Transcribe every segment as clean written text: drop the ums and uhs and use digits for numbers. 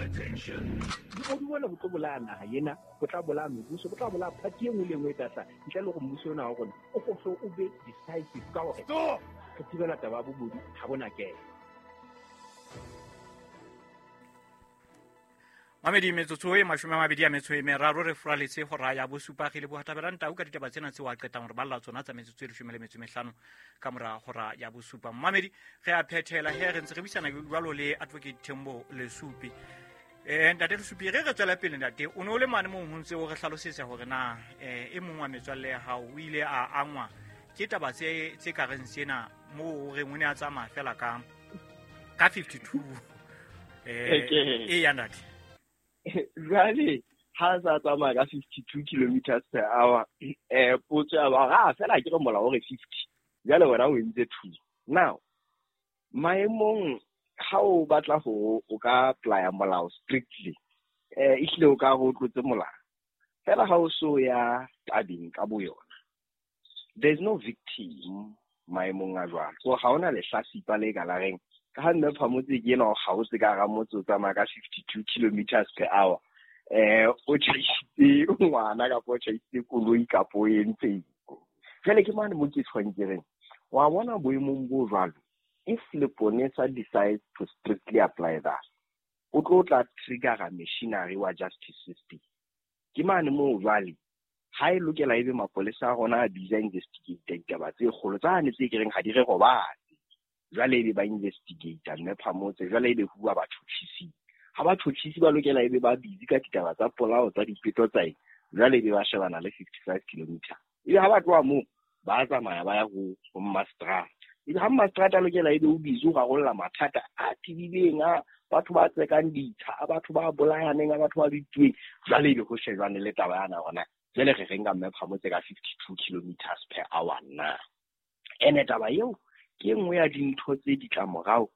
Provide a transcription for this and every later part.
Bobodu bona bo tlo bolaya naha ena, bo tla bolaya mebuso, bo tla bolaya party e nngwe le e nngwe e tla hlaha ntle le hore mmuso ona wa rona o ko o be decisive ka hore re thibela taba ya bobodu ha bona kena. Mamedi, metsotso e 23 re furaletse hora ya bosupa. Re leboha Thabelang Tau ka ditaba tsena tseo a qetang hore balla tsona tsa metsotso e 15 ka mora hora ya bosupa. Mamedi, re a phethela he re ntse re buisana jwalo le Advocate Thembo Lesupi. Ntate Lesupi, re tswela pele. Ntate, o ne o le mane moo ho ntse o re hlalosetsa hore na e mong wa metswalle ya hao o ile a angwa ke taba tse ka reng sena, moo o reng o ne a tsamaya fela ka 52. E ya ntate. Jwale ha sa tsamaya ka 52 kilometers per hour, potso ya ba ha fela ke re molao o re 50, jwale wena o entse 2. Now maemong ha o batla ho o ka apply molao strictly, ehlile o ka re o tlotse molao. Fela ha o so ya tabeng ka bo yona, there is no victim maemong a jwalo. So ha hona lehlasipa le ka la reng ka ha mme Phamotse ke ena o kgaotse ka hara motse o tsamaya ka 52 kilometers per hour, o tjhaisitse ngwana kapa o tjhaisitse koloi kapa o entseng. Jwale ke mane mo ke tshwang ke reng, wa bona boemong bo jwalo, if leponesa decides to strictly apply that, o tlo tla triggera machinery wa justice system. Ke mane moo jwale ha e lokela ebe mapolesa a rona a busy a investigate ditaba tse kgolo tsane tse kereng ha di re robatse. Jwale ebe ba investigate mme Phamotse, jwale ebe huwa batjhotjhisi. Ha batjhotjhisi ba lokela ebe ba busy ka ditaba tsa polao tsa dipeto tsa eng, jwale ebe ba shebana le 55 kilometers. Ebe ha ba tloha moo ba tsamaya ba ya ho mmastrata. Ebe ha mmastrata a lokela ebe o busy ho rarolla mathata a tebileng a batho ba tsekang ditsha, a batho ba bolayaneng, a batho ba bituweng, jwale ebe ho shejwane le taba yana hona. Jwale re reng ka mme Phamotse ka 52 kilometers per hour na? Ene taba eo ke e nngwe ya dintho tse ditlamorao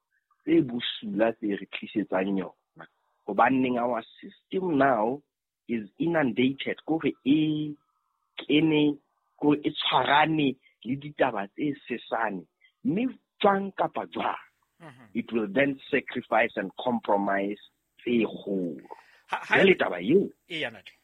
tse bosula tse re tlisetsang yona. Hobaneng our system now is inundated, kore e kene, kore e tshwarane le ditaba tse sesane, mme jwang kapa jwang, it will then sacrifice and compromise tse kgolo. Jwale taba eo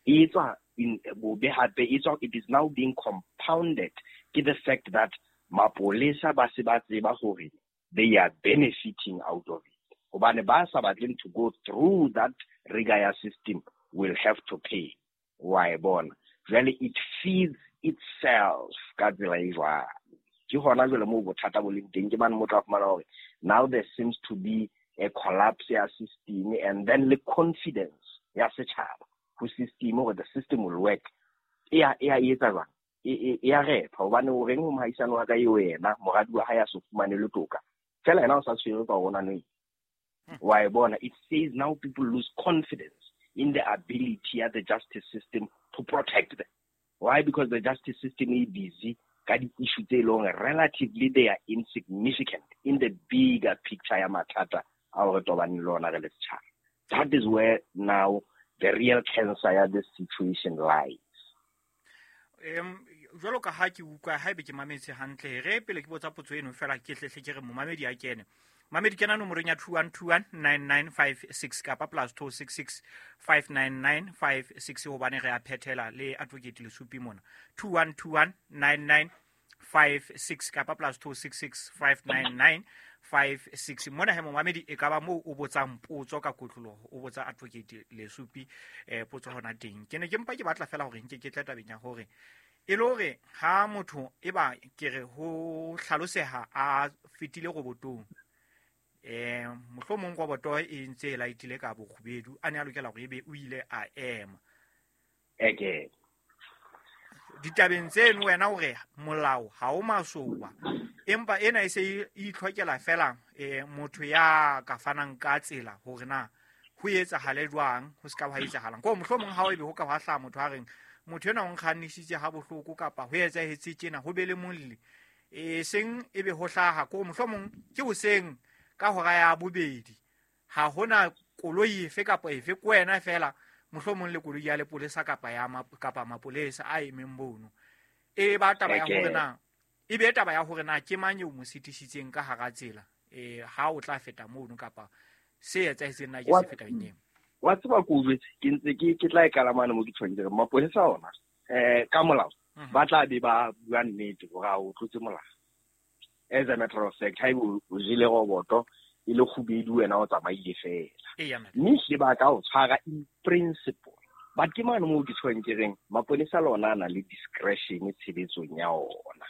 e tswa in bobe hape, e tswa, it is now being compounded ke the fact that mapolesa ba se ba tseba hore they are benefiting out of it. Hobane ba sa batleng to go through that rigor ya system will have to pay. Wa e bona. Jwale it feeds itself ka tsela e jwalo. Ke hona jwale moo bothata bo leng teng, ke mane mo tla fumana hore now there seems to be a collapse ya system, and then le confidence ya setjhaba ho system hore the system will work. E ya etsa jwang? E ya repha, hobane o reng ho mohaisane wa ka eo yena moradi wa hae a so fumane le toka, fela yena o sa tshwerwe ka hore o na le wa e bona. It says now people lose confidence in the ability of the justice system to protect them. Why? Because the justice system is busy ka di-issue tse leng relatively they are insignificant in the bigger picture ya mathata a re tobaneng le ona re le setjhaba. That is where now the real cancer ya this situation lies. Jwalo ka ha ke utlwa, haebe ke mametse hantle, re pele ke botsa potso eno fela ke hlehle ke re momamedi a kene. Mamedi kena nomorong ya 21219956 kapa +266 59956, hobane re a phethela le Advocate Lesupi mona. 21219956 kapa +266 59956. Mona he momamedi e ka ba moo o botsang potso ka kotloloho, o botsa Advocate Lesupi potso hona teng. Ke ne ke mpa ke batla fela hore nke ke tle tabeng ya hore e le hore ha motho e ba ke re ho hlaloseha a fetile robotong, mohlomong roboto e ntse e laetile ka bokgubedu, a ne a lokela hore ebe o ile a ema. Eke ditabeng tseno wena hore molao ha o masoba, empa ena e se e itlhokela fela motho ya ka fanang ka tsela hore na ho etsahale jwang, ho se ka ha etsahalang. Ko mohlomong ha o ebe ho ka hwa hlaha motho a reng motho enwa o nkgannisitse ha bohloko kapa ho etsahetse tjena, ho be le molli, e seng ebe ho hlaha ko mohlomong ke hoseng ka hora ya bobedi, ha hona koloi efe kapa efe, ke wena fela mohlomong le koloi ya lepolesa kapa ya kapa mapolesa a emeng mono. E ba taba ya hore na, e be taba ya hore na ke mang eo mo sitisitseng ka hara tsela, ha o tla feta mono kapa se etsahetseng na ke se feta eng. Wa tseba ko jwetse ke ntse ke tla e kala mane mo ke tshwanetse mapolesa ona ka molao ba tla be ba bua nnete hore a o tlotse molao. As a matter of fact, ha o jele roboto e le kgubedu wena o tsamaile fela. Mme hle ba ka o tshwara in principle. But ke mane moo ke tshwang ke reng maponesa le ona a na le discretion tshebetsong ya ona.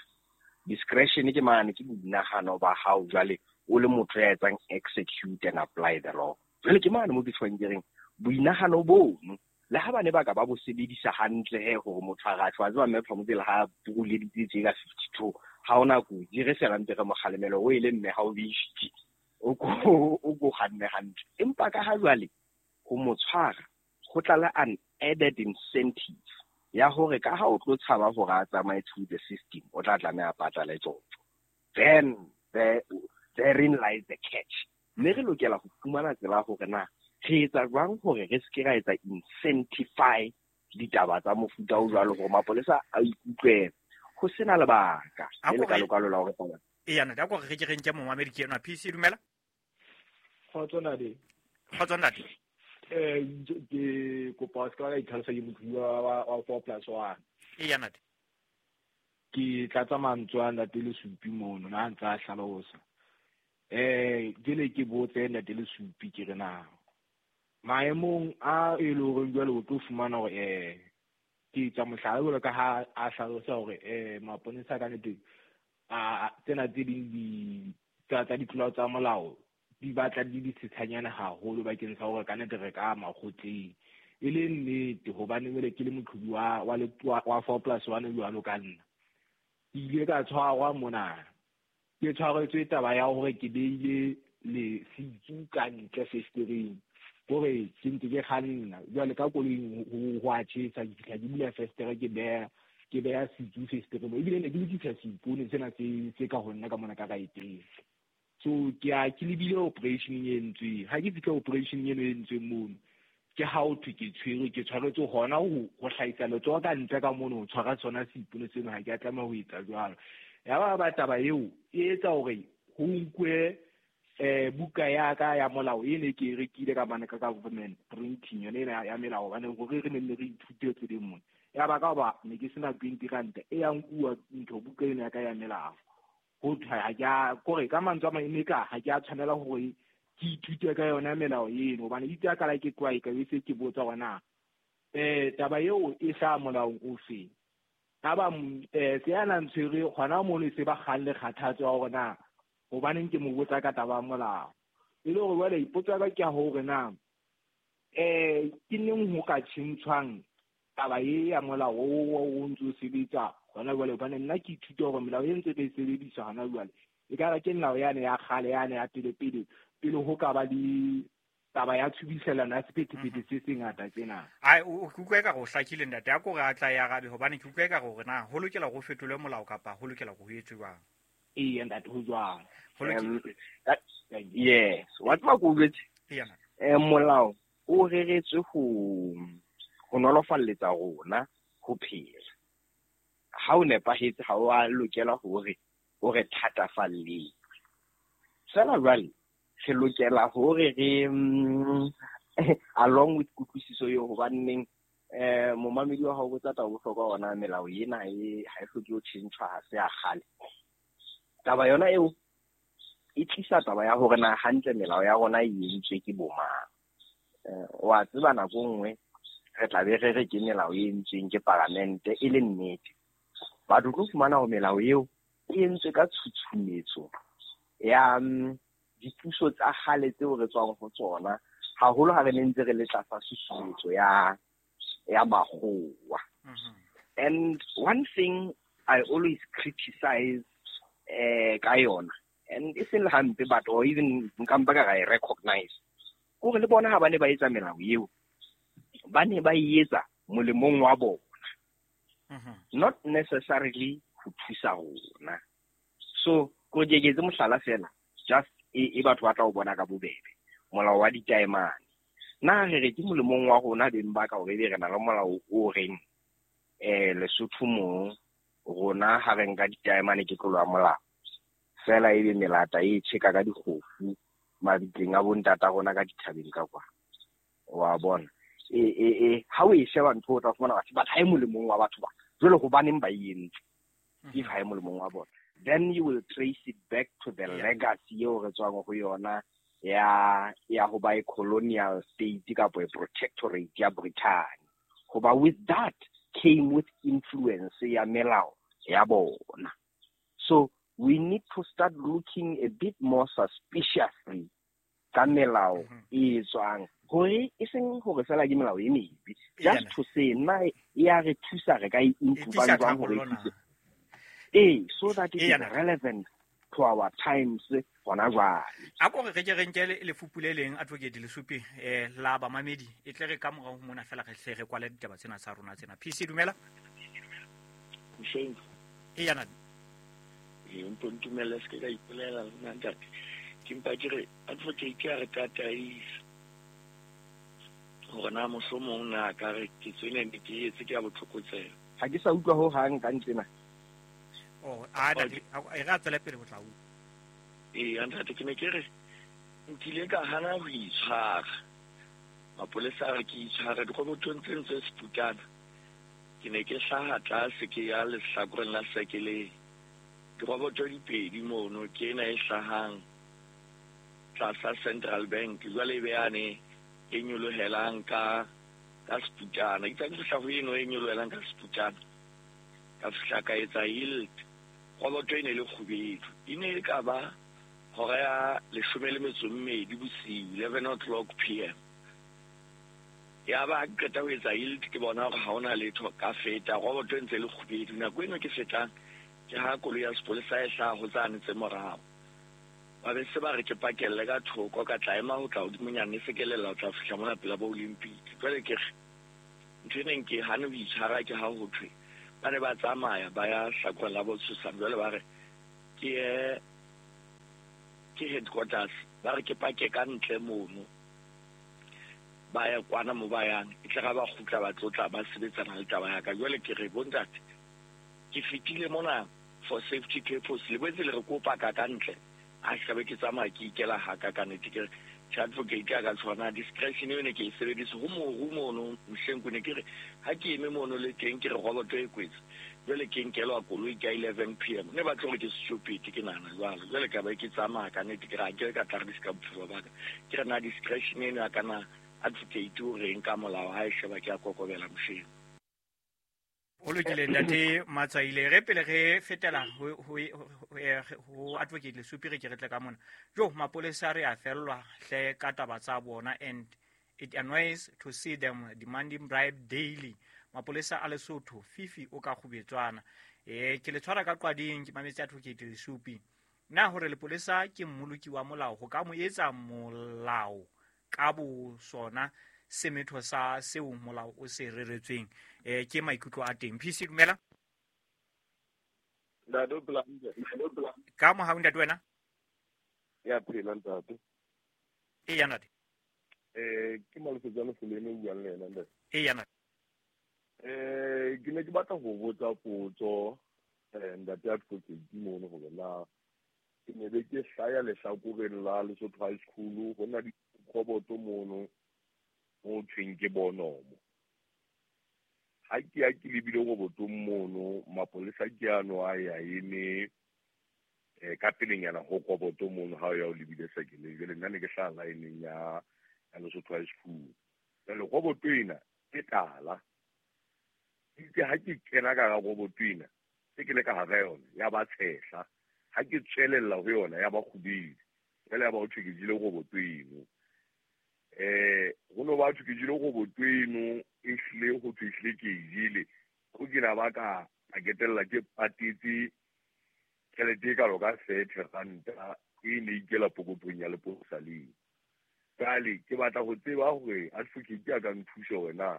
Discretion ke mane ke boinahano ba hao jwale o le motho ya etsang execute and apply the law. Jwale ke mane moo ke tshwang ke reng boinahano bono le ha bane ba ka ba bo sebedisa hantle he hore motho a ratjwa tseba mme Phamotse le ha buruleditse tje ka 52 ha ona kotsi re fela ntse re mo kgalemela o ile mme ha o be o ko kganne hantle. Empa ka ha jwale ho mo tshwara go tlala an added incentive ya hore ka ha o tlo tshaba hore a tsamaye through the system o tla tlameha patale tjotjo. Then therein lies the catch. Mme re lokela ho fumana tsela hore na re etsa jwang hore re se ke ra etsa incentify ditaba tsa mofuta o jwalo hore mapolesa a ikutlwe ho sena lebaka le le kalokalo la hore taba. Eya ntate, a ko re ke re nke momamedi ke enwa. PC dumela. Kgotso ntate. Kgotso ntate. Ke kopa se ka itlhalosa ke motho wa 4+1. Eya ntate. Ke tlatsa mantswe a ntate Lesupi mono na ntse a hlalosa. Ke le ke botse ntate Lesupi ke re na maemong a e le hore jwale o tlo fumana hore ke tsa mohlala jwalo ka ha a hlalosa hore maponesa ka nnete a tsena tse ding di tsa ditlolo tsa molao di batla di di setshanyana haholo bakeng sa hore ka nnete re ka makgotleng. E le nnete hobane jwale ke le moqhobi wa 4+1 jwalo ka nna. Ke ile ka tshwarwa mona. Ke tshwaretswe taba ya hore ke beile le sitsu ka ntle festereng. Hore ke ntse ke kganna jwale ka koloing ho a tjhesa ke fihla ke bula festere ke beha sitsu festereng. Ebile ne ke lokisa seipone sena se ka ho nna ka mona ka raeteng. So ke a ke lebile operation e entsweng. Ha ke fihla operation eno e entsweng mono, ke ha ho thwe ke tshwerwe, ke tshwaretswe hona ho hlahisa letsoho ka ntle ka mono ho tshwara sona seipone seno, ha ke a tlameha ho etsa jwalo. Ya ba taba eo e etsa hore ho nkwe buka ya ka ya molao e ne ke e rekile ka mane ka government printing yone ena ya melao hobane hore re ne re ithute tseleng mona. Ya ba ka hoba ne ke sena 20 ranta e ya nkuwa ntho buka eno ya ka ya melao. Ho thwe ha ke a kore ka mantswe a mang e ne ka ha ke a tshwanela hore ke ithute ka yona melao eno hobane itse a kala ke tloha e ka be se ke botsa hore na taba eo e hlaha molaong ofe. Ha ba se ya na ntshwere hona mono e se ba kgalle kgathatso ya hore na hobaneng ke mo botsa ka taba ya molao. E le hore jwale ipotso ya ka ke ya hore na ke neng ho ka tjhentjhwang taba e ya molao o ntso o sebetsa hona jwale, hobane nna ke ithuta hore melao e ntse e sebediswa hona jwale e ka re ke melao yane ya kgale yane ya pele pele pele ho ka ba le taba ya tshubiselano ya sephethephethe se sengata tjena. Ai o ke utlwa eka ho hlakile ntate, a ko re a tla ya arabe hobane ke utlwa eka hore na ho lokela ho fetolwe molao kapa ho lokela ho etswe jwang. Eya ntate, ho jwang. Yes, wa tseba ko jwetse. Molao o reretswe ho nolofalletsa rona ho phela. Ha o nepahetse ha o a lokela hore o re thatafalletse. Fela jwale re lokela hore re along with kutlwisiso eo hobaneng momamedi wa hao botsa taba bohlokwa ona melao ena e ha e hloke ho tjhentjhwa, ha se ya kgale. Taba yona eo e tlisa taba ya hore na hantle melao ya rona e entswe ke bo mang. Wa tseba nako nngwe re tla be re re ke melao e entsweng ke paramente e le nnete. Batho tlo fumana hore melao eo e entswe ka tshutshumetso ya dipuso tsa kgale tseo re tswang ho tsona, haholo ha re ne ntse re le tlasa tshusumetso ya makgowa. And one thing I always criticize ka yona, and e seng le hampe but or even nka mpa ka ra e recognize, kore le bona ha ba ne ba etsa melao eo, ba ne ba e etsa molemong wa bona, not necessarily ho thusa rona. So ko ke etse mohlala fela, just e batho ba tla o bona ka bobebe, molao wa ditaemane. Na re re ke molemong wa rona beng ba ka hore ebe re na le molao o reng Lesotho mo rona ha re nka ditaemane ke tlolo ya molao, fela ebe melata e tjheka ka dikgofu mabitleng a bontata rona ka dithabeng ka kwa. Wa bona e ha o e sheba ntho o tla fumana batho ba ha e molemong wa batho ba jwale hobaneng ba e entse, if ha e molemong wa bona, then you will trace it back to the legacy eo re tswang ho yona ya ho ba a colonial state kapa a protectorate ya Britain. Hoba with that came with influence ya melao ya bona. So we need to start looking a bit more suspiciously ka melao e tswang, hore e seng hore fela ke melao e mebe, just to say na e ya re thusa, re ka e improve jwang hore e thuse, so that it is relevant to our times hona jwale. A ko re ke re nke lefupu le leng, Advocate Lesupi, la bamamedi, e tle re ka morao ho mona fela re hle re kwale ditaba tsena tsa rona tsena. PC, dumela. Msheng. E yana. E mpo ntumelle se ke ka ipolela nna ntate. Ke mpa ke re advocate ya re tataisa hore na mohlomong na ka re ketso ena ne ke etse ke ya botlokotsebe. Ha ke sa utlwa ho hang ka ntsena. Oh, a ntate, e re a tswele pele ho tla utlwa. Ee, ntate, ke ne ke re nkile ka hana ho itshwara. Mapolesa a re ke itshware dirobotong tse ntse seputana. Ke ne ke hlaha tlase ke ya lehlakoreng la sekeleng. Diroboto di pedi mono, ke ena e hlahang tlasa Central Bank, jwale e be yane e nyolohelang ka seputana. Itse ke fihla ho eno e nyolohelang ka seputana, ka fihla ka etsa yield. Roboto e ne le kgubedu, e ne e ka ba hora ya 12 bosiu, 11 o'clock PM. Ya ba ke qeta ho etsa yield, ke bona hore ha hona letho, ka feta roboto e ntse le kgubedu. Nako eno ke fetang ke ha koloi ya sepolesa e hlaha ho tsane tse morao. Ba be se ba re ke pakelle ka thoko, ka tla ema ho tla hodimonyane, se ke lela ho tla fihla mona pela bo Olympic. Jwale ke re ntho e neng ke hane ho itshwara ke ha ho thwe ba ne ba tsamaya ba ya hlakoreng la Botshosang, jwale ba re ke ye ke headquarters, ba re ke pake ka ntle mono, ba ya kwana mo ba yang, e tle ga ba kgutla ba tlotla ba sebetsana le taba ya ka. Jwale ke re bontate, ke fetile mona for safety purpose, le boetse le re kopa ka ka ntle, a se be ke tsamaya ke ikela haka ka nnete. Ke re advocate ya ka tshwana discretion eo ne ke e sebedise ho moru mono mohleng ne ke re ha ke eme mono le teng ke re roboto e kwetse, jwale ke nkelwa koloi ka 11 PM, ne ba tlo re ke stupid, ke nahana jwalo. Jwale ka ba ke tsamaya ka nnete, ke re ha ke ka tla re di ska bophelo ba ka. Ke re na discretion eno ya ka na advocate o reng ka molao ha e sheba ke a kokobela mohleng. O lokile ntate Matsaile, re pele re fetela ho Advocate Lesupi, re ke re tle ka mona. Jo, mapolesa re a fellwa hle ka taba tsa bona, and it annoys to see them demanding bribe daily. Mapolesa a Lesotho, Fifi o ka kgubetswana. Ke le tshwara ka qwading, ke mametse Advocate Lesupi. Na hore lepolesa ke mmoloki wa molao, ho ka mo etsa molao ka bo sona semetho sa seo molao o se reretsweng. Ke maikutlo a teng. PC, dumela. Ntate o phela hantle? Ka mohau ntate wena? Ya phela ntate. E ya ntate. Ke Malefetsa Lefolene o buang le yena ntate. E ya ntate. Ke ne ke batla ho botsa potso ntate Advocate mono hore na ke ne be ke hlaya lehlakoreng la Lesotho High School, ho na dikgoboto mono mo thweng ke bonomo. Ha ke ya ke lebile robotong mono, mapolesa ke ano a ya eme ka pelenyana ho roboto mono ha o ya o lebile sekeleng. Jwale nna ne ke hlaha line-eng ya Lesotho High School. Jwale roboto ena ke tala. Itse ha ke kena ka hara roboto ena, se ke le ka hara yona ya ba tshehla. Ha ke tswelella ho yona ya ba kgubedu. Jwale ya ba ho thwe ke jele roboto eno. Ho no ba thwe ke jele roboto eno, e hlile ho thwe ehlile ke e jele. Ho ke na ba ka ketella ke patetse tjhelete e kalo ka 30 ranta e ne ikela pokothong ya lepolesa leo. Jwale ke batla ho tseba hore advocate a ka nthusa hore na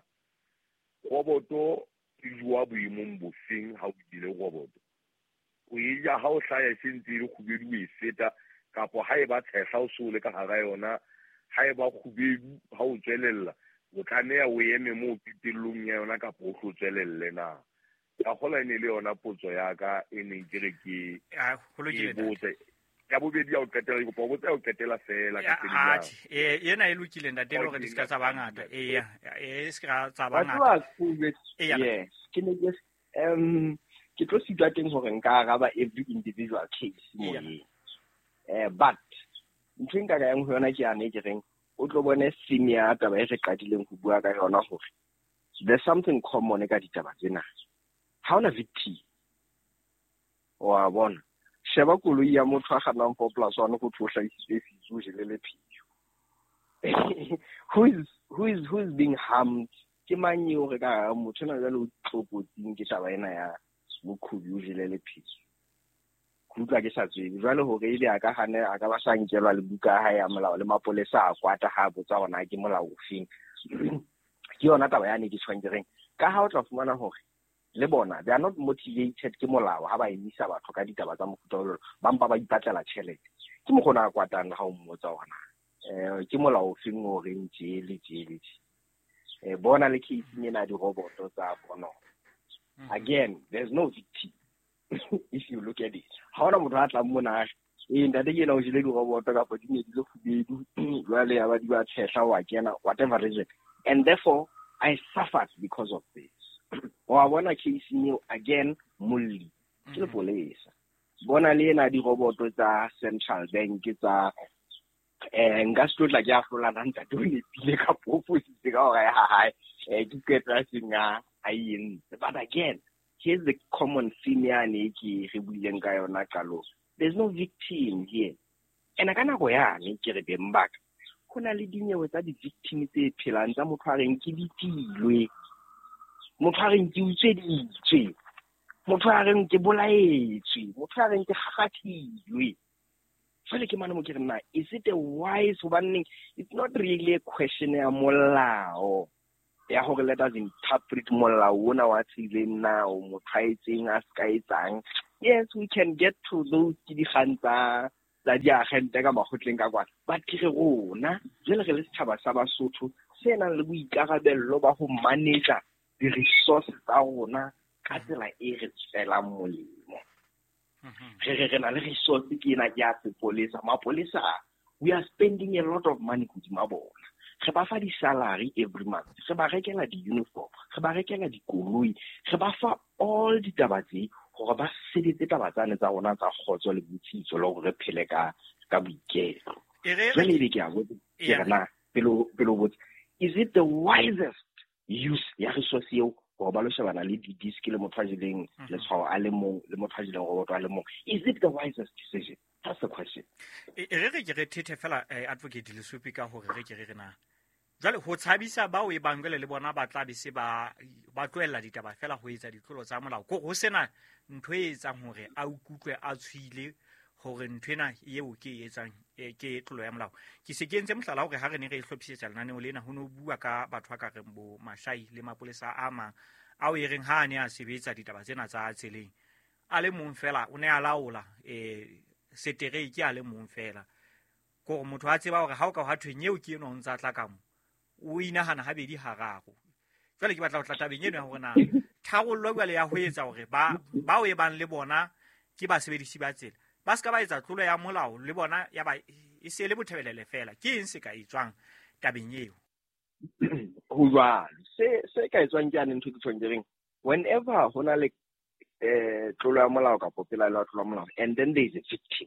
roboto e jowa boemong bofeng ha o jele roboto. O e ja ha o hlaya e se ntse e le kgubedu o e feta, kapo ha e ba tshehla o so le ka hara yona, ha e ba kgubedu ha o tswelella, o tlameha o eme moo qetellong ya yona kapo o tlo tswelelle na. Ka kgola e ne le yona potso ya ka e neng ke re ke botse. Ya bobedi ya ho qetela, ke kopa ho botsa ya ho qetela feela ka pele. Atjhe, ena e lokile ntate, le hore di ska tsa bangata. Eya, e se ka tsa bangata. Yes, ke ne ke ke tlo sitwa teng hore nka araba every individual case moyeng. But ntho e nka ka yang ho yona ke yane ke reng o tlo bone theme ya taba e re qadileng ho bua ka yona hore there's something common ka ditaba tsena. Ha hona victim. Wa bona. Sheba koloi ya motho a kgannang 4+1 go thwe o hlahisitse setsu o jele lepheo. Who is being harmed? Ke mang eo re ka motho ena jwale o tlokotsing ke taba ena ya moqhobi o jele lepheo? Ke utlwa ke sa tsebe jwale hore ebe a ka hane a ka ba sa nkelwa le buka ya hae ya molao le mapolesa a kwata ha a botsa hore na ke molao ofeng. Ke yona taba yane ke tjhong ke reng ka ha o tla fumana hore le bona they are not motivated ke molao ha ba emisa batho ka ditaba tsa mofuta o jwalo, ba mpa ba ipatlela tjhelete. Ke mokgona a kwatang ha o mmotsa hore na ke molao ofeng o reng tje le tje le tje. Bona le case ena diroboto tsa bona. Again, there's no victim. If you look at it, ha hona motho a tlang mona e ntate ke ena o jele diroboto kapa di ne di le kgubedu jwale ya ba di ba tshehla wa kena, whatever reason, and therefore I suffered because of this. Wa bona case eo again, molli ke lepolesa. Bona le ena diroboto tsa Central Bank tsa nka se tlo tla ke a hlolana ntate o nepile kapa o fositse ka hore ya hae ke qeto ya seng a entse. But again, here's the common theme yane ke re buileng ka yona qalong. There's no victim here. And ka nako yane ke re beng baka ho na le dinyewe tsa di-victim tse phelang tsa motho a reng ke bitilwe, motho a reng ke utsweditswe, motho a reng ke bolaetswe, motho a reng ke kgakgathilwe. Jwale ke mane mo ke re na is it a wise, hobaneng it's not really a question ya molao ya hore let us interpret molao ona wa tseleng na o motho a etseng a ska etsang. Yes, we can get to those ke dikgang tsa diagente ka makgotleng ka kwana, but ke re rona jwale re le setjhaba sa Basotho se nang le boikarabello ba ho manage di-resource tsa rona ka tsela e re tswelang molemo. Re na le resource ke ena ke ya sepolesa. Mapolesa, we are spending a lot of money hodima bona. Re ba fa di-salary every month, re ba rekela di-uniform, re ba rekela dikoloi, re ba fa all ditaba tse hore ba sebetse taba tsane tsa rona tsa kgotso le botsitso le hore re phele ka boiketlo. Jwale ebe ke a botsa ke re na pele o botsa, is it the wisest use ya resource eo hore ba lo shebana le di-disc le motho a jeleng letshwao a le mong le motho a jeleng roboto a le mong? Is it the wisest decision? That's the question. E re ke re thethe fela, Advocate Lesupi, ka hore re ke re na jwale ho tshabisa bao e bang jwale le bona ba tla be se ba tlohella ditaba fela ho etsa ditlolo tsa molao, ko ho sena ntho e etsang hore a ukutlwe a tshwile hore ntho ena eo ke e etsang ke tlolo ya molao. Ke se ke entse mohlala hore ha re ne re hlophisetsa lenaneo lena ho no bua ka batho ba ka reng bo Mashai le mapolesa a mang ao e reng ha a ne a sebetsa ditaba tsena tsa tseleng a le mong fela o ne a laola setereke a le mong fela, kore motho a tseba hore ha o ka hwa thweng eo ke eno o ntsa tla ka mo o inahana habedi hararo. Jwale ke batla ho tla tabeng eno ya hore na tharollo jwale ya ho etsa hore bao e bang le bona ke basebedisi ba tsela ba ska ba etsa tlolo ya molao le bona ya ba e se le bothebelele fela, ke eng se ka etswang tabeng eo? Ho jwalo se ka etswang ke ane ntho ke tjhong ke reng whenever ho na le tlolo ya molao kapa pelaelo ya tlolo ya molao and then there is a victim,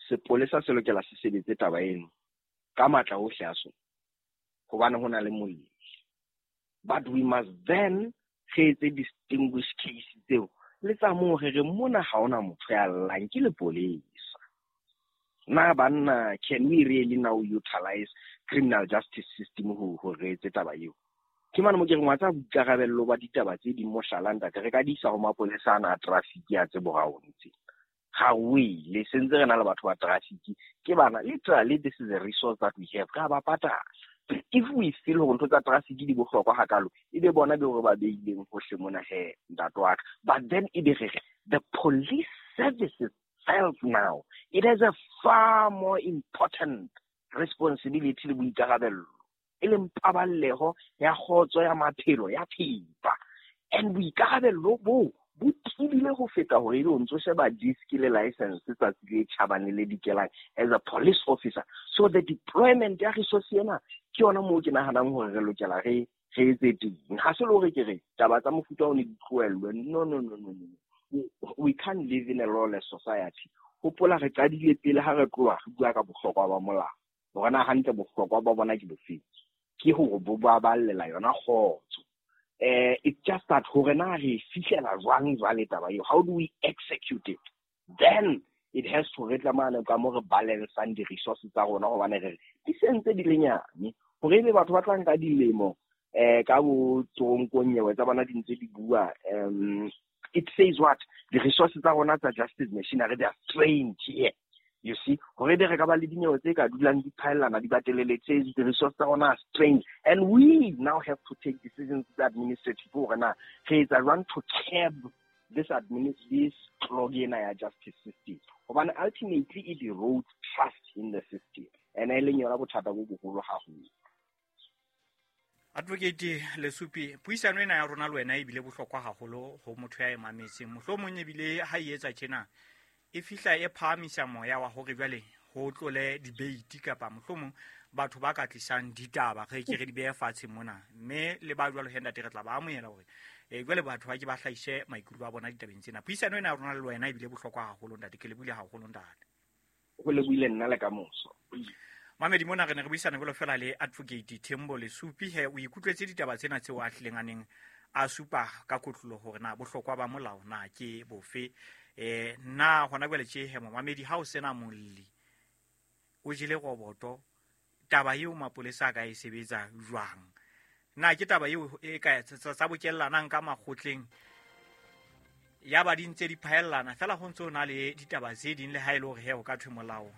sepolesa se lokela se sebetse taba eno ka matla ohle a sona hobane ho na le molli. But we must then re etse distinguish case tseo le tsa moo re re mona ha hona motho ya llang ke lepolesa. Na banna, can we really now utilize criminal justice system ho re etse taba eo? Ke mane mo ke reng wa tsa boikarabello ba ditaba tse ding mohlala ntate re ka di isa ho mapolesa ana a traffic ya tse borao ntse. Ha o ile sentse re na le batho ba traffic ke bana, literally this is a resource that we have, ka ba patala. If we feel hore ntho tsa traffic di bohlokwa hakalo, ebe bona be hore ba beileng hohle mona he ntate wa ka. But then ebe re the police service itself now, it has a far more important responsibility le boikarabello e leng paballeho ya kgotso ya maphelo ya thepa. And boikarabello bo bo tebile ho feta hore ebe o ntso sheba disk le license tsatsi le tjhabang le le dikelang as a police officer. So the deployment ya resource ena ke yona moo ke nahanang hore re lokela re etse teng. Ha se le hore ke re taba tsa mofuta o ne di tlohellwe. No, no, no, no, no. We can't live in a lawless society. Hopola re qadile pele ha re tloha re bua ka bohlokwa ba molao. Hore na hantle bohlokwa ba bona ke bofeng? Ke hore bo baballela yona kgotso. It's just that hore na re fihlela jwang jwale taba eo? How do we execute it? Then it has to re tlamane ka mo re balancang di-resources tsa rona, hobane re di sentse di le nyane. Hore ebe batho ba tla nka dilemo ka bo toronkong nyewe tsa bona di ntse di bua, it says what? The resources tsa rona tsa justice machinery, they are strained here. You see, hore be re ka ba le dinyewe tse ka dulang di phaellana di batelele, it says the resources tsa rona are strained. And we now have to take decisions administrative hore na re etsa jwang to curb this this clog ena ya justice system. Hobane ultimately it erodes trust in the system. And e leng yona bothata bo boholo haholo. Advocate Lesupi, puisano ena ya rona le wena ebile bohlokwa haholo ho motho ya e mametseng. Mohlomong ebile ha e etsa tjena e fihla e phahamisa moya wa hore jwale ho tlole debate kapa mohlomong batho ba ka tlisang ditaba re ke re di behe fatshe mona, mme le ba jwalo he ntate re tla ba amohela hore jwale batho ba ke ba hlahise maikutlo a bona ditabeng tsena. Puisano ena ya rona le wena ebile bohlokwa haholo ntate, ke lebohile haholo ntate. Ho lebohile nna le ka moso. Mamedi mona re ne re buisana jwalo fela le Advocate Thembo Lesupi. He o ikutlwetse ditaba tsena tseo a hlileng a neng a supa ka kotlolo hore na bohlokwa ba molao na ke bofe. Na hona jwale tje he momamedi, ha o sena molli o jele roboto, taba eo mapolesa a ka e sebetsa jwang? Na ke taba eo e ka tsa bokellanang ka makgotleng ya ba di ntse di phaellana fela, ho ntse ho na le ditaba tse ding le ha e le hore he o ka thwe molao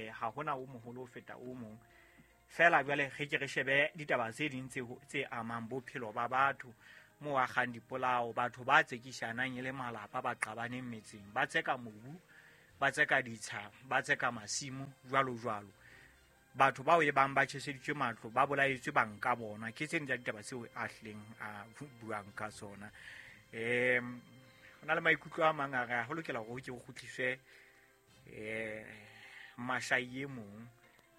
ha hona o moholo ho feta o mong. Fela jwale re ke re shebe ditaba tse ding tse amang bophelo ba batho, mo akgang dipolao, batho ba tsekishanang e le malapa, ba qabaneng metseng, ba tseka mobu, ba tseka ditsha, ba tseka masimo, jwalo jwalo. Batho bao e bang ba tjheseditswe matlo, ba bolaetswe banka bona. Ke tse ding tsa ditaba tseo a hlileng a buang ka tsona. Ho na le maikutlo a mang a re ho lokela hore ho ke ho kgutliswe mashai e mong.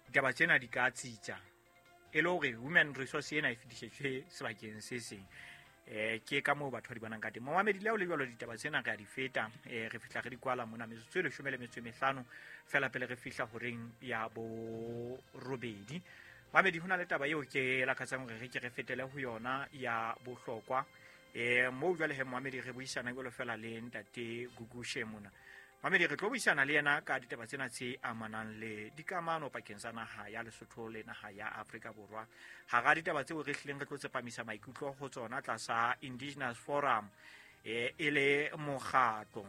Ditaba tsena di ka tsitsa e le hore human resource ena e fetisetswe sebakeng se seng. Ke ka moo batho ba di bonang ka teng. Momamedi le ha o le jwalo, ditaba tsena re a di feta, re fihla re di kwala mona metsotso e 15 fela pele re fihla horeng ya 8. Mamedi, ho na le taba eo ke lakatsang hore re ke re fetele ho yona ya bohlokwa. Moo jwale he momamedi re buisana jwalo fela le ntate Gugushe mona. Mamedi, re tlo buisana le yena ka ditaba tsena tse amanang le dikamano pakeng tsa naha ya Lesotho le naha ya Afrika Borwa. Hara ditaba tseo re hlileng re tlo tsepamisa maikutlo ho tsona tlasa Indigenous Forum e le mokgatlo.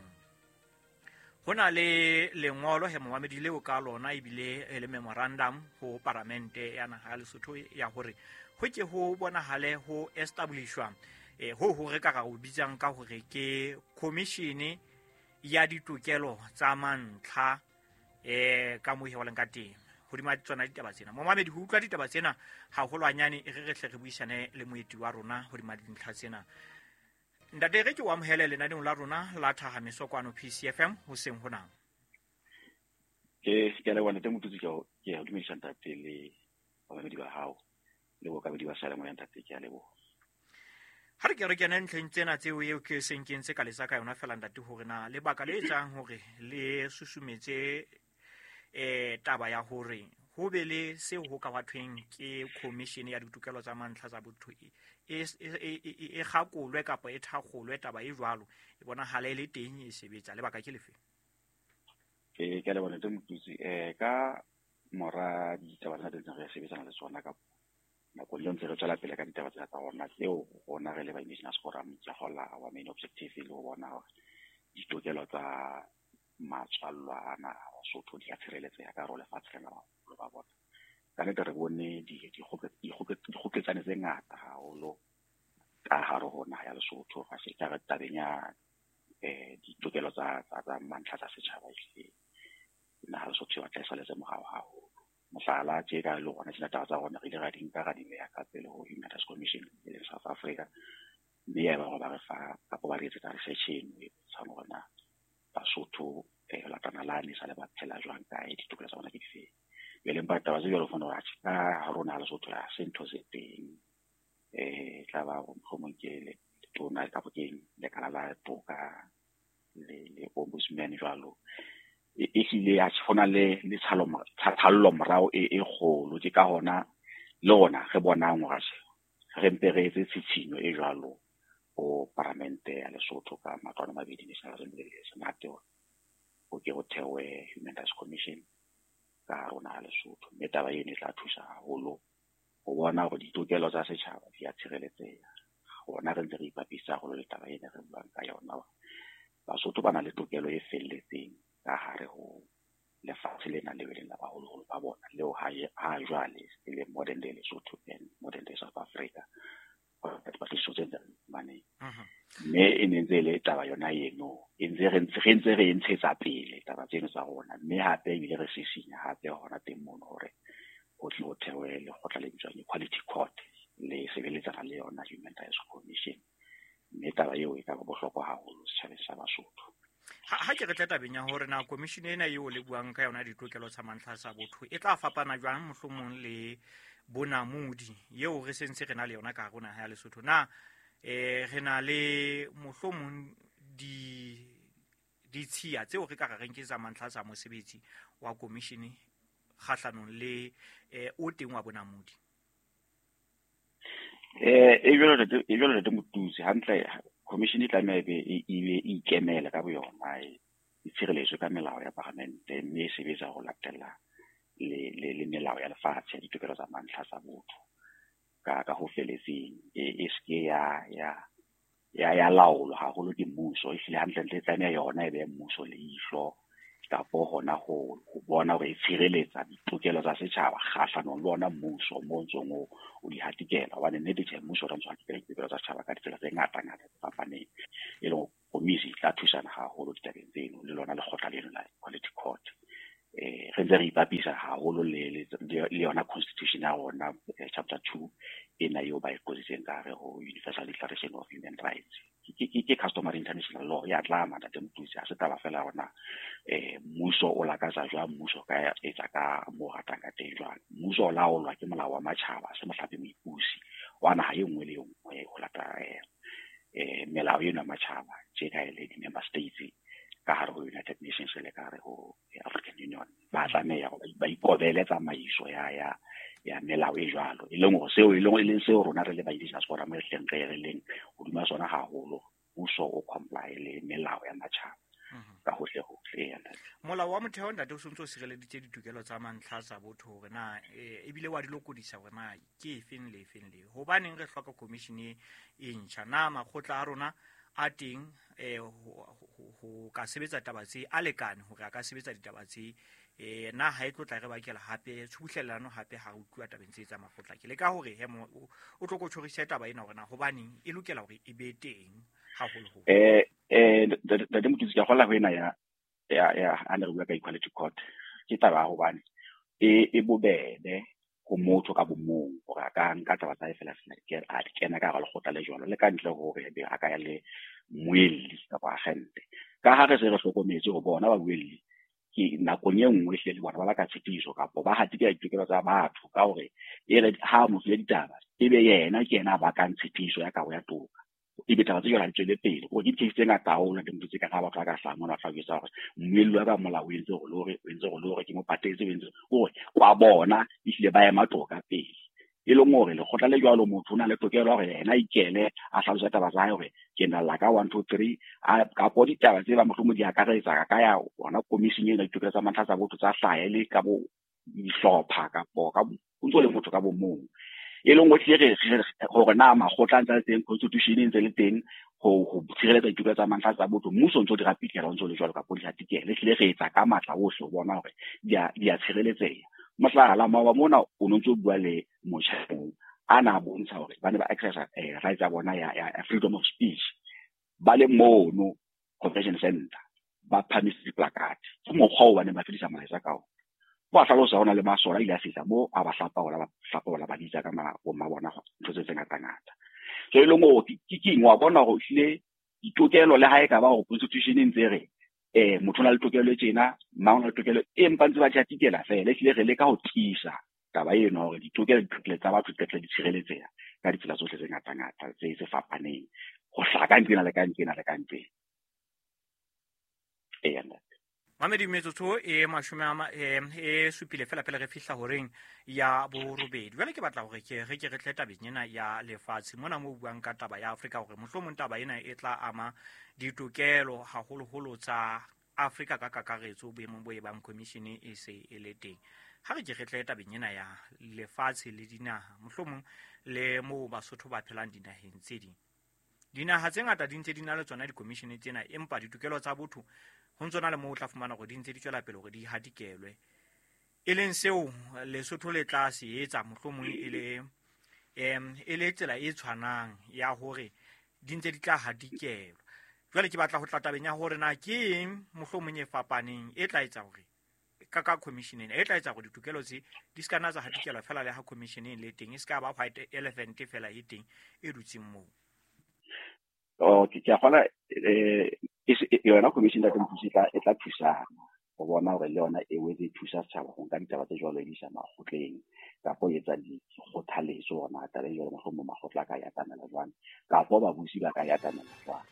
Ho na le lengolo he momamedi leo ka lona ebile e le memorandum ho paramente ya naha ya Lesotho ya hore ho ke ho bonahale ho establishwa ho re ka ra o bitsang ka hore ke commission ya ditokelo tsa mantlha ka moo he ka teng hodima tsona ditaba tsena. Momamedi, ho utlwa ditaba tsena haholwanyane e re re hle re buisane le moeti wa rona hodima dintlha tsena. Ntate, re ke o amohele lenaneong la rona la Thahameso kwano PCFM hoseng hona. Ke a leboha ntate Motutsi, ke a dumedisa ntate le bamamedi ba hao le bookamedi ba seyalemoya ntate, ke a leboha. Ha re ke re kene ntlheng tsena tseo eo ke seng ke ntse ka letsa ka yona fela ntate, hore na lebaka le etsang hore le susumetse taba ya hore ho be le seo ho ka thweng ke commission ya ditokelo tsa mantlha tsa botho e kgakolwe kapa e thakgolwe taba e jwalo e bonahala e le teng e sebetsa, lebaka ke lefe? Ke a leboha ntate Motutsi. Ka mora ditaba tsena tse re sebetsana le tsona ka nakong eo ntse re tswela pele ka ditaba tsena tsa rona tseo rona re le ba Indigenous Forum ke hola our main objective e le ho bona hore ditokelo tsa matswallwa ana a Basotho di a tshireletseha ka hare ho lefatshe lena ba bona. Ka nnete re bone dikgoketsane tse ngata haholo ka hare ho naha ya Lesotho, ra se ka re tabeng ya ditokelo tsa mantlha tsa setjhaba ehlile naha ya Lesotho e batla e saletse morao haholo. Mohlala tje ka le rona tsena taba tsa rona re ile ra di nka ra di beha ka pele ho Human Rights Commission e leng South Africa. Mme ya eba hore ba re fa kapa ba re etsetsa research eno e bontshang hore na Basotho lata nalane sa le ba phela jwang kae, ditokelo tsa bona ke difeng. Jwale empa taba tse jwalo o fumana hore atjhe ka ha rona Lesotho ha se ntho se teng. Tla ba hore mohlomong ke letona kapa ke lekala la toka le ombudsman jwalo. Ehlile atjhe ho na le tshalo morao e kgolo. Ke ka hona le rona re bonang hore atjhe re mpe re etse tshitshinyo e jwalo ho paramente ya Lesotho ka matlo a mabedi, National Assembly le Senate, hore ho ke ho thewe Human Rights Commission ka hare ho naha Lesotho. Mme taba eno e tla thusa haholo ho bona hore ditokelo tsa setjhaba di a tshireletseha. Rona re ntse re ipapisa haholo le taba ena re buang ka yona hore Basotho ba na le tokelo e felletseng ka hare ho lefatshe lena leo e leng la baholoholo ba bona, leo ha jwale e leng modern day Lesotho and modern day South Africa. Dipatlisiso tse ntse re mme e ne ntse e le taba yona eno e ntse re ntse re e ntshetsa pele taba tseno tsa rona. Mme hape ebile re sisinya hape hona teng mono hore ho tle ho thewe lekgotla le bitswang Equality Court le sebeletsana le yona Human Rights Commission. Mme taba eo e ka ba bohlokwa haholo setjhabeng sa Basotho. Ha ke re tla tabeng ya hore na commission ena eo le buang ka yona ditokelo tsa mantlha tsa botho e tla fapana jwang mohlomong le bonamodi eo re sentse re na le yona ka hare ho naha ya Lesotho. Na re na le mohlomong ditshiya tseo re ka re reng ke tsa mantlha tsa mosebetsi wa commission kgahlanong le o teng wa bonamodi? E jwalo ntate Motutsi, hantle commission e tlameha e be e ikemele ka boyona, e tshireletswe ka melao ya paramente, mme e sebetsa ho latela le melao ya lefatshe ya ditokelo tsa mantlha tsa botho ka ho felletseng. E seke ya laolwa haholo ke mmuso. Ehlile hantlentle e tlameha yona e behe mmuso leihlo kapo hona ho bona hore e tshireletsa ditokelo tsa setjhaba kgahlanong le ona mmuso mo ntsong o di hatikela. Hobane nnete tjhe, mmuso o ntso hatikela ditokelo tsa setjhaba ka ditsela tse ngata ngata tse fapaneng. E leng komisi e tla thusana haholo ditabeng tseno le lona lekgotla leno la Equality Court. Re ntse re ipapisa haholo le yona constitution ya rona, chapter 2 ena eo ba e qotsitseng ka hare ho Universal Declaration of Human Rights. Ke customary international law ya tlama ntate Motutsi. Ha se taba fela hore na mmuso o lakatsa jwang, mmuso ka etsa ka mo ratang ka teng jwang. Mmuso o laolwa ke molao wa matjhaba, se mohlape moipusi wa naha e nngwe le e nngwe ho lata melao eno ya matjhaba tje ka e le di-member states ka hare ho United Nations le ka hare ho African Union. Ba tlameha hore ba ikobele tsamaiso ya melao e jwalo, e leng hore seo e leng seo rona re le ba Indigenous Forum re hleng re leng hodima sona haholo. Mmuso o comply le melao ya matjhaba ka hohle hohle. Molao wa motheo ntate o sontso o sireleditse ditokelo tsa mantlha tsa botho hore na ebile wa di lokodisa hore na ke efeng le efeng le. Hobaneng re hloka commission e ntjha? Na makgotla a rona a teng ho ka sebetsa taba tse a lekane hore a ka sebetsa ditaba tse? Na ha e tlo tla re bakela hape tshubuhlellano hape ha re utlwa tabeng tse tsa makgotla? Ke leka hore he o tlo ko tjhorise taba ena hore na hobaneng e lokela hore e be teng haholoholo. Ntate Motutsi, ke kgola ho ena ya ha ne re bua ka Equality Court. Ke taba ya hobane e bobebe ho motho ka bomong hore a ka nka taba tsa hae fela a di kena ka hara lekgotla le jwalo, le ka ntle hore ebe a ka ya le mmuelli kapa agente. Ka ha re se re hlokometse ho bona babuelli ke nakong e nngwe hle le bona ba baka tshitiso kapo ba hatikela ditokelo tsa batho ka hore e re ha motho ya ditaba ebe yena ke yena a bakang tshitiso ya kabo ya toka. Ebe taba tse jwalo ha di tswele pele. Hore ke di-case tse ngata haholo ntate Motutsi, ka ha batho ba ka hlaha mona ba tla jwetsa hore mmuelli wa ka molao o entse hore le hore, o entse hore le hore, ke mo patetse, o entse hore wa bona ehlile ba ema toka pele. E leng hore lekgotla le jwalo motho o na le tokelo ya hore yena a ikele a hlalose taba tsa hae hore ke na la ka 1 2 3 kapo ditaba tse ba mohlomong di akaretsa ka ya hona commission ena ditokelo tsa mantlha tsa botho tsa hlaha e le ka bo dihlopha kapo ka o ntso le motho ka bo mong. E leng hore hlile re hore na makgotla a ntse a le teng, constitution e ntse le teng ho tshireletsa ditokelo tsa mantlha tsa botho, mmuso o ntso di rapitlhela o ntso le jwalo kapo di hatikela. Ehlile re etsa ka matla ohle ho bona hore di a tshireletseha. Mohlala, maoba mona o no ntso bua le motjha a na bontsha hore ba ne ba exercise rights ya bona ya freedom of speech ba le mono convention center ba phamise diplakate. Ke mokgwa oo ba neng ba fedisa molaetsa ka ona. Ba hlalosa hona le masole a ile a fihla moo a ba hlapaola, ba hlapaola ba bitsa ka bomma bona ntho tse ngata ngata. So e leng hore ke keng wa bona hore ehlile ditokelo le ha e ka ba hore constitution e ntse re motho o na le tokelo e tjena, mang o na le tokelo, empa ntse ba tjhatikela fela. Ehlile re leka ho tiisa taba eno hore ditokelo tsa batho di tle di tshireletseha ka ditsela tsohle tse ngata-ngata tse fapaneng, ho hlaha ka nqena le ka nqena le ka nqena. Eya ntate. Mamedi, metsotso e 70 fela pele re fihla horeng ya 8. Jwale ke batla hore ke re ke re tle tabeng ena ya lefatshe mona mo buang ka taba ya Afrika, hore mohlomong taba ena e tla ama ditokelo haholoholo tsa Afrika ka kakaretso boemong bo e bang commission e se e le teng. Ha re ke re tle tabeng ena ya lefatshe le dinaha, mohlomong le moo Basotho ba phelang dinaheng tse ding. Dinaha tse ngata di ntse di na le tsona di-commission tsena, empa ditokelo tsa botho ho ntse na le moo o tla fumana hore di ntse di tswela pele hore di hatikelwe, e leng seo Lesotho le tla se etsa mohlomong e le tsela e tshwanang ya hore di ntse di tla hatikelwa. Jwale ke batla ho tla tabeng ya hore na ke eng mohlomong e fapaneng e tla etsa hore ka commission ena e tla etsa hore ditokelo tse di se ka nna tsa hatikelwa fela le ha commission e le teng, e se ka ba white elephant fela e teng e dutseng moo. Okay, ke a kgona yona commission ya Mpusi e tla thusana ho bona hore le yona e wetse e thusa setjhaba ho nka ditaba tse jwalo e di isa makgotleng, kapa ho etsa dikgothaletso hore na taba e jwalo mohlomong makgotla a ka e atamela jwang, kapa babusi ba ka e atamela jwang.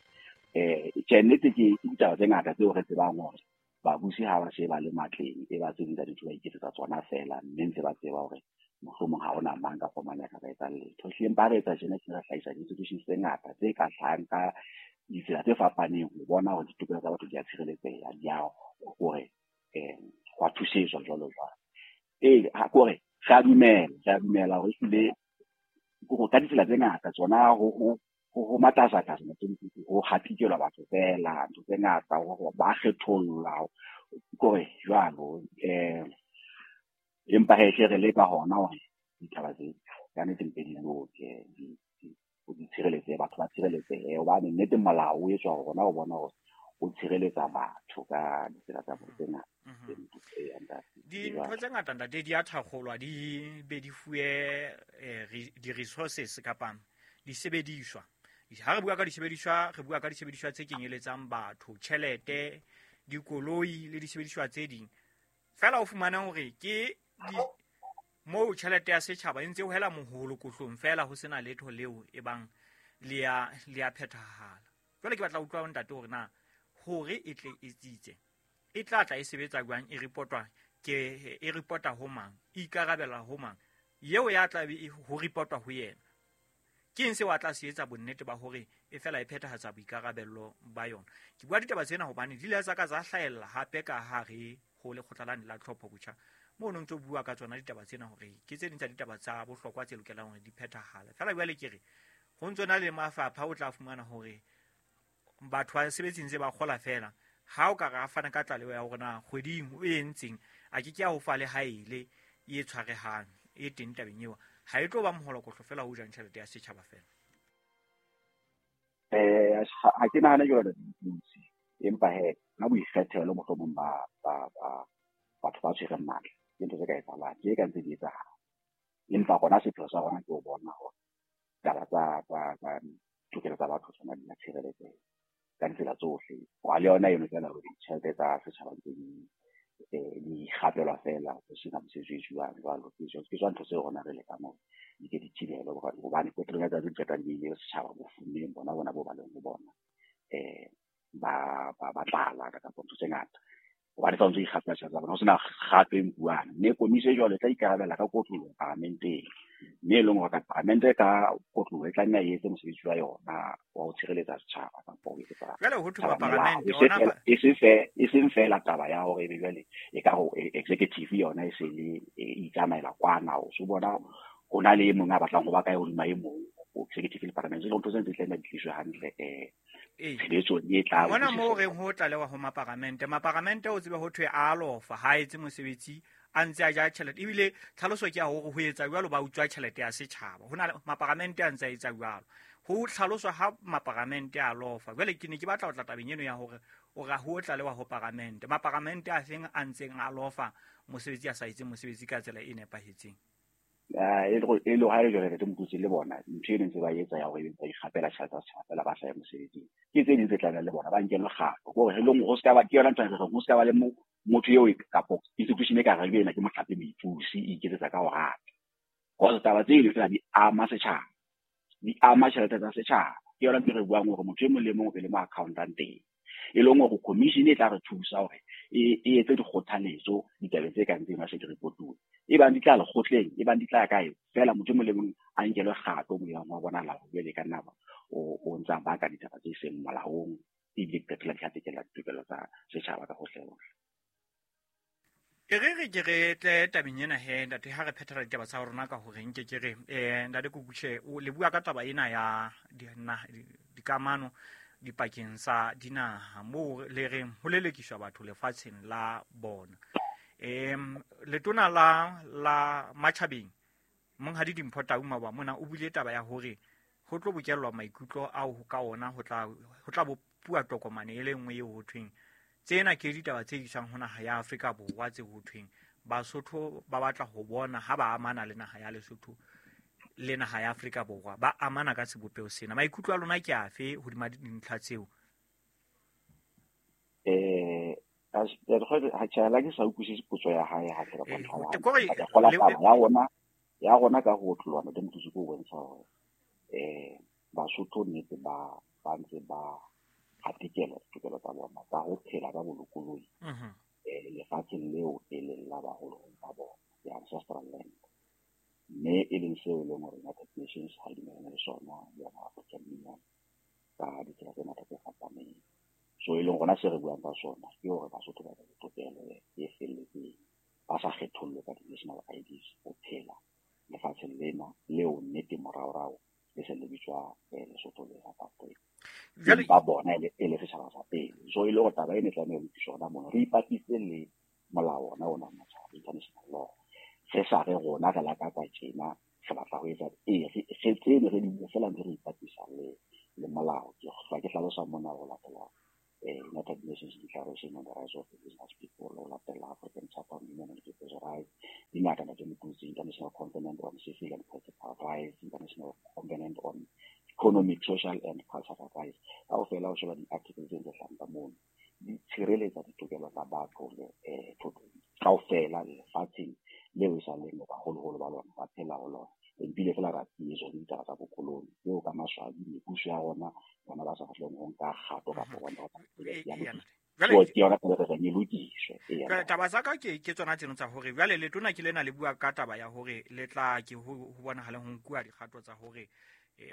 Tjhe, nnete ke ditaba tse ngata tseo re tsebang hore babusi ha ba se ba le matleng, e ba tse ding tsa dintho ba iketsetsa tsona fela, mme ntse ba tseba hore mohlomong ha hona mang kapa mang ya ka ba etsang letho. Ehlile empa ha re etsa tjena, re hlahisa di-institutions tse ngata tse ka hlahang ka ditsela tse fapaneng ho bona hore ditokelo tsa batho di a tshireletseha, di a hore ho a thusetswa jwalo jwalo. Kore re a dumela hore ehlile ka ditsela tse ngata tsona ho matasatasa, ho hatikelwa batho fela, ntho tse ngata, ba kgethollwa, kore jwalo. Empa he hle re leka hona hore ditaba tse ka nnete mpe di loke, di tshireletsehe, batho ba tshireletsehe, hobane nnete molao o etswa hore rona o bona hore o tshireletsa batho ka ditsela tsa tse ngata. Dintho tse ngata ntate di a thakgolwa, di be di fuwe di-resources kapa disebediswa. Ha re bua ka disebediswa, re bua ka disebediswa tse kenyeletsang batho, tjhelete, dikoloi le disebediswa tse ding. Fela o fumana hore ke moo tjhelete ya setjhaba e ntse ho hela moholo kohlong fela, ho sena letho leo e bang le a phethahala. Jwale ke batla ho utlwa ntate hore na hore e tle e tsitse, e tla tla e sebetsa jwang, e reportwa ke e reporta ho mang, e ikarabela ho mang, eo ya tla be ho reportwa ho yena. Ke eng seo a tla se etsa bonnete ba hore e fela e phethahatsa boikarabello ba yona? Ke bua ditaba tsena hobane di ile tsa ka tsa hlahella hape ka hare ho lekgotla lane la tlhopho botjha, moo no ntso bua ka tsona ditaba tsena hore ke tse ding tsa ditaba tsa bohlokwa tse lokelang hore di phethahale. Fela jwale ke re ho ntso na le mafapha o tla fumana hore batho ba sebetseng tse ba kgola fela, ha o ka re a fana ka tlaleho ya hore na kgweding o entseng, a ke ke a ho fa le haele e tshwarehang e teng tabeng eo, ha e tlo ba moholokohlo fela ho jang tjhelete ya setjhaba fela. Ha ke nahane jwalo Mpusi, empa he ka boikgethelo mohlomong ba batho ba tshwereng matla, ke ntho tse ka etsahalang, ke ka ntse di etsahala. Empa rona sepheo sa rona ke ho bona hore taba tsa tokelo tsa batho tsona di a tshireletseha ka ditsela tsohle. Wa le yona eno fela hore ditjhelete tsa setjhaba ntse di gapelwa fela ho sena mosebetsi o etsuwang jwalo. Ke tsona ntho tseo rona re lekang hore di ke di thibelwe, hobane qetellong ya tsatsi di qetang di ile setjhaba bofumeng bona bo ba leng ho bona, ba tlala kapa ntho tse ngata, hobane sa ntse ikgapela tjhelete tsa bona, ho sena kgato e nkuwang. Mme komisi e jwalo e tla ikarabella ka kotloloho paramenteng, mme e leng hore ka paramente ka kotloloho e tla nna e etse mosebetsi wa yona wa ho tshireletsa setjhaba kapa ho etsetsa Jwale ho thwe paramente ona e seng fela taba ya hore ebe jwale e ka ho executive yona e se le e itsamaela kwana, o so bona ho na le e mong a batlang ho ba kae hodima e mong, executive le paramente. Jwale ntho tsena tse tla di tliswe hantle tshebetsong e tla mona moo re ho tlalewa ho maparamente. Maparamente o tsebe ho thwe a lofa, ha etse mosebetsi, a ntse a ja tjhelete, ebile tlhaloso ke ya hore ho etsa jwalo ba utswa tjhelete ya setjhaba. Ho na le maparamente a ntse a etsa jwalo, ho tlhaloswa ha maparamente a lofa. Jwale ke ne ke batla ho tla tabeng eno ya hore o ra ho tlalewa ho paramente, maparamente a feng a ntseng a lofa mosebetsi a sa etse mosebetsi ka tsela e nepahetseng. E le ha le jwale re mokutsi le bona ntho e ntse ba etsa ya hore ba ikgapela tjhelete tsa setjhaba fela ba sa ye mosebetsing. Ke tse ding tse tlamehang le bona ba nkelwe kgato. Ke hore e leng ho ska ba ke yona ntho e re ho ska ba le motho eo kapo institution e ka reng ena ke mohlape moipusi e iketsetsa ka ho rata. Cause taba tse ding fela di ama setjhaba, di ama tjhelete tsa setjhaba. Ke yona ntho e re buang hore motho e mong le mong o be le mo accountang teng. E leng hore commission e tla re thusa hore e etse dikgothaletso ditabeng tse kang tsena se di reportuwe. E bang di tla lekgotleng, e bang di tla kae, fela motho e mong le mong a nkelwe kgato mo yang wa bonahala hore jwale ka nna o ntsa baka ditaba tse seng molaong, ebile di qetella di hatikela ditokelo tsa setjhaba ka hohle hohle. E re re ke re tle tabeng ena he ntate, ha re phethela ditaba tsa rona ka hore nke ke re ntate Kukushe o le bua ka taba ena ya dikamano dipakeng tsa dinaha moo le reng ho lelekiswa batho lefatsheng la bona. Letona la matjhabeng Monghadi Dimpho Tau Maboa mona o buile taba ya hore ho tlo bokellwa maikutlo ao ka ona ho tla bopuwa tokomane e le nngwe eo ho thweng tsena ke ditaba tse iswang ho naha ya Afrika Borwa tse ho thweng Basotho ba batla ho bona ha ba amana le naha ya Lesotho le naha ya Afrika Borwa ba amana ka sebopeho sena. Maikutlo a lona ke afe hodima dintlha tseo? Ha ke sa utlwisise potso ya hae hantle kapa ntho ya ya rona ka ho otloloha ntate Mothusi ke ho bontsha hore Basotho nnete ba ntse ba hatikela ditokelo tsa bona tsa ho phela ka bolokolohi lefatsheng leo e leng la baholoholo ba bona, the ancestral land. Mme e leng seo e leng hore United Nations ha e dumellane le sona, yona African Union ka ditsela tse ngata tse fapaneng. So e leng rona se re buang ka sona ke hore Basotho ba le tokelo e felletseng, ba sa kgethollwe ka di-national IDs ho phela lefatsheng lena leo nnete moraorao le se le bitswa Lesotho le South Africa. Ba bona e le setjhaba sa pele. So e le hore taba ena e tlameha ho lokiswa hona mona, re ipapise le molao ona matjhaba, international law. Re sa re rona re lakatsa tjena, re batla ho etsa re tsene re di bue fela ntse re ipapisa le molao. Ke hlwa ke hlalosa mona ho latela United Nations Declaration on the Rights of Indigenous People, ho latela African Charter on Human and People's Rights, dingata ntate Mothusi, International Covenant on Civil and Political Rights, International Covenant on Economic, Social and Cultural Rights. Kaofela ho sheba di-article tse ntse hlahang ka mono, di tshireletsa ditokelo tsa batho le kaofela lefatsheng leo e sa leng baholoholo ba lona ba phela ho lona. Ebile fela ra tsietswa ke ditaba tsa bokoloni tseo ka maswabi mebuso ya rona bona ba sa batleng ho nka kgato kapa bona ba ke yona taba re e lokiswe. Taba tsa ka ke tsona tseno tsa hore jwale letona ke lena le bua ka taba ya hore le tla ke ho bonahale ho nkuwa dikgato tsa hore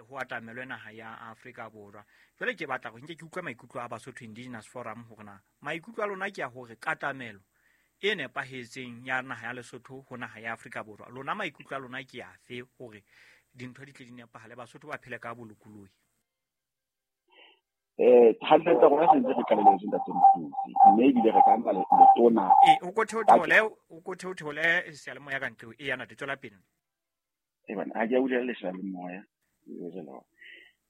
ho atamelwe naha ya Afrika Borwa. Jwale ke batla hore nke ke utlwe maikutlo a Basotho Indigenous Forum hore na maikutlo a lona ke a hore katamelo e nepahetseng ya naha ya Lesotho ho naha ya Afrika Borwa, lona maikutlo a lona ke afe hore dintho di tle di nepahale, Basotho ba phele ka bolokolohi? Hantle tsa rona sentse re qalelletse ntate Mothusi, mme ebile re ka nka letona o ko theotheole seyalemoya ka ntle e yana tswela pele. Bana ha ke a bulela le seyalemoya.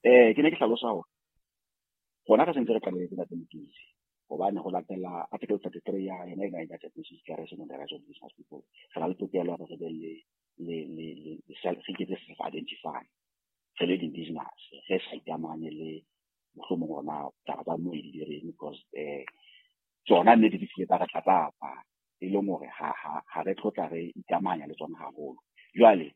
Ke ne ke hlalosa hore rona re sentse re qalelletse ntate Mothusi, hobane ho latela Article 33 ya yona ena United Nations Declaration on the Rights of Indigenous People, re na le tokelo ya hore re be le re iketse self-identify re le indigenous, re sa ikamanye le mohlomong rona taba tsa moedi di reng, because tsona nnete di file tsa re tlatlapa, e leng hore ha re tlotla re ikamanya le tsona haholo. Jwale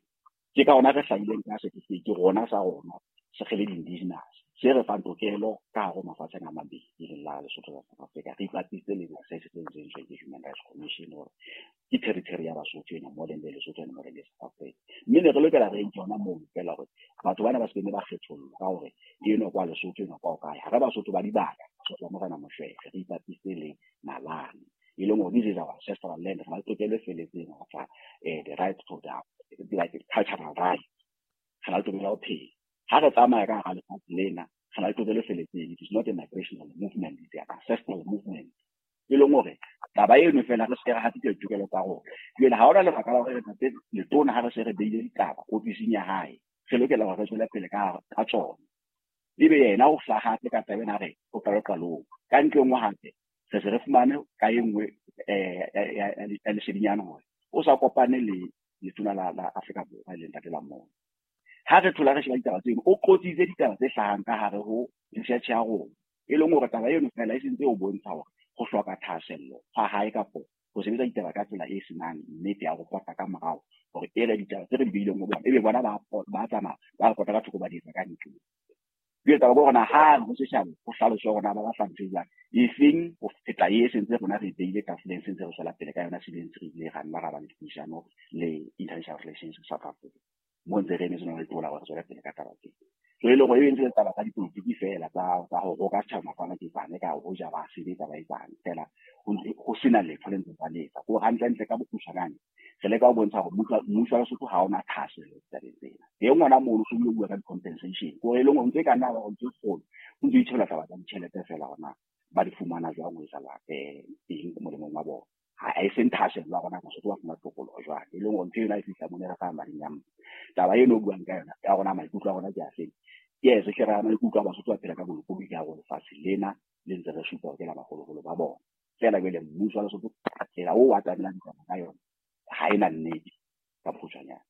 ke ka hona re hlahileng ka certificate rona sa rona se re le indigenous se re fang tokelo ka hare ho mafatsheng a mabedi, e leng la Lesotho le South Africa. Re ipapise le se se entsweng ke Human Rights Commission hore ke territory ya Basotho ena, modern day Lesotho and modern day South Africa. Mme ne re lokela re nke yona moo fela hore batho bana ba se be ba kgethollwa ka hore eno kwa Lesotho eno kwa kae. Ha re Basotho ba dibaka, Basotho ba Morena Moshweshwe, re ipapise le nalane, e leng hore this is our ancestral land, re na le tokelo e felletseng ho tla the right to the like cultural right, re na le tokelo ya ho phela. Ha re tsamaya ka hara lefatshe lena, re na le tokelo e felletseng. It is not a migrational movement, it's an ancestral movement. E leng hore taba eno fela re se re hatikela ditokelo tsa rona. Jwale ha hona lebaka la hore ntate letona ha re se re beile ditaba ofising ya hae, re lokela hore re tswele pele ka tsona. Ebe yena o hlaha hape ka taba ena re o qalo qalong. Ka ntle nngwe hape re se re fumane ka e nngwe ya lesedinyana hore o sa kopane le Letona la Afrika Borwa e leng Ntate Lamola. Ha re thola re sheba ditaba tseno, o qotsitse ditaba tse hlahang ka hare ho research ya rona, e leng hore taba eno fela e sentse o bontsha hore ho hloka thahasello ha hae kapo ho sebetsa ditaba ka tsela e senang nnete ya ho pota ka morao, hore e re ditaba tse re di beileng ho bona ebe bona ba tsamaya ba pota ka thoko ba di etsa ka ntle. Jwale taba ke hore na ha re ho setjhaba ho hlaloswa hore na ba batla ntho e jwang, efeng ho feta e sentse rona re beile tafoleng, sentse re tswela pele ka yona, se ntse re ile ra nna ra ba le dipuisano le International Relations South Africa mo ntse re emetse lona letona hore re tswele pele ka taba tsena. So e leng hore e ntse taba tsa dipolotiki fela tsa ho roka setjhaba mafana ke tsane ka hoja ba sebetsa ba etsang fela ho sena letho le ntse ba le etsa. Ko hantlentle ka bokgutshwanyane re leka ho bontsha hore mmuso wa Lesotho ha ona thahasello ditabeng tsena. Teng ngwana mono so bua ka di-compensation, ko e leng hore ntse e ka nna ba ntse kgolo, o ntse itshebela taba tsa ditjhelete fela hore na ba di fumana jwang ho etsahala eng molemong wa bona. Ha e seng thahasello ya rona Basotho ba fumana tokoloho jwang, e leng hore ntho ena e fihla mona re fa mading a mma. Taba eno o buang ka yona ya rona maikutlo a rona ke a feng? Yes, hle re a maikutlo a Basotho ba phela ka bolokolohi ka hare ho lefatshe lena le ntse re supa hore ke la baholoholo ba bona. Feela jwale mmuso wa Lesotho tsela o a tlamelang ditaba ka yona ha ena nnete ka bokgutshwanyane.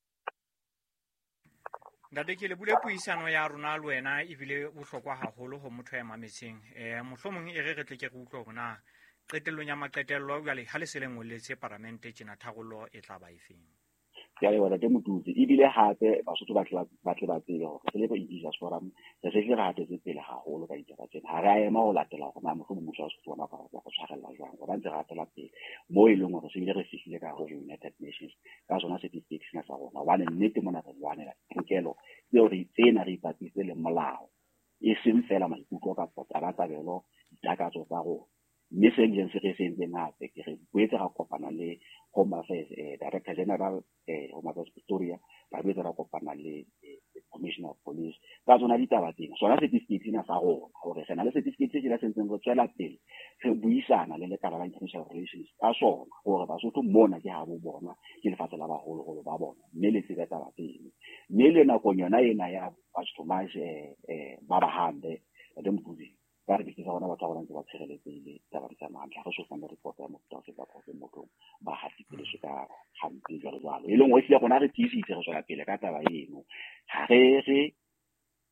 Ntate, ke lebule puisano ya rona le wena ebile bohlokwa haholo ho motho ya mametseng. Mohlomong e re re tle ke re utlwe hore na qetellong ya maqetello jwale ha le se le ngolletse paramente tjena tharollo e tla ba efeng. Ke a leboha Ntate Motutsi. Ebile hape Basotho ba tle ba tsebe hore re le bo Indigenous Forum re se re hatetse pele haholo ka ditaba tsena. Ha re a ema ho latela hore na mohlomong mmuso wa Lesotho ona o ka re tshwarella jwang, hobane ntse re hatela pele moo e leng hore se bile re fihlile ka hare ho United Nations ka sona certificate sena sa rona. Hobane nnete mona re lwanela ditokelo tseo re tsena re ipapise le molao, e seng fela maikutlo kapa tabatabelo ditakatso tsa rona. Mme se bileng se re se entseng hape ke re boetse ra kopana le Home Affairs Director General Home Affairs Pretoria, ra boetse ra kopana le Commissioner of Police ka tsona ditaba tsena. Sona certificate sena sa rona hore re na le certificate se tjena se ntseng re tswela pele re buisana le lekala la International Relations ka sona hore Basotho mona ke habo bona, ke lefatshe la baholoholo ba bona, mme le tsebe taba tseno. Mme le nakong yona ena ya March to March ba ba hambe Ntate Motutsi, ka re ke rona batho ba rona ntse ba tshireletsehile taba di tsamaya hantle. Ha re so fumane report ya mofuta ofe kapa ofe mothong ba hatetse ka hampe jwalo jwalo. E leng hore ehlile rona re tiisitse re tswela pele ka taba eno. Ha re re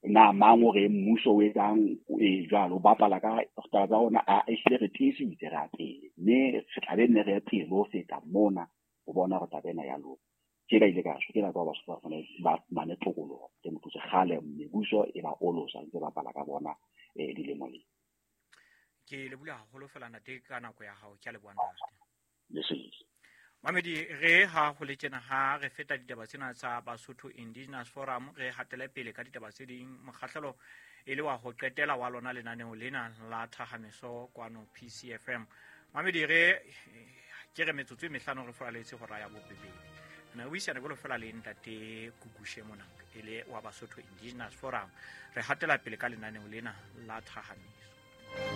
na mang o re mmuso o etsang e jwalo o bapala ka taba tsa rona, a ehlile re tiisitse re a pele, mme re tla be nne re ye pele ho feta mona ho bona hore taba ena ya loka. Ke ka ile ka shwa, ke nako ya Basotho ba fumane ba fumane tokoloho. Ke motho kgale mebuso e ba olosa ntse bapala ka bona dilemo le. Ke leboha haholo fela ntate ka nako ya hao, ke a leboha ntate. Lesedi. Mamedi, re ha ho le tjena ha re feta ditaba tsena tsa Basotho Indigenous Forum, re hatele pele ka ditaba tse ding. Mokgahlelo e le wa ho qetela wa lona lenaneo lena la Thahameso kwano PCFM. Mamedi, re ke re metsotso e mehlano re furaletse hora ya bobedi. Na buisana jwalo fela le ntate Kukushe mona e le wa Basotho Indigenous Forum. Re hatela pele ka lenaneo lena la Thahameso.